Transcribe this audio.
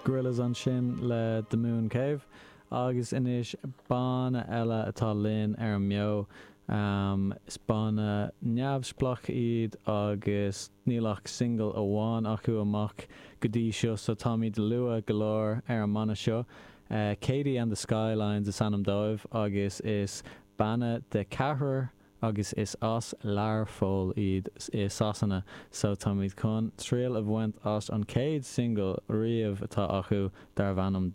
Gorillaz ansin le The Moon Cave agus anois banna eile atá linn ar an mbeo. Is banna neamhspleách iad agus níl ach single amháin acu amach go dtí seo so táimid luath go leor ar an mbanna seo. Katie and the Skylines is ainm dóibh agus is banna de ceathrar agus is as Learpholl iad i Sasana so táimid chun triail a bhaint as an chéad single riamh atá acu darbh ainm.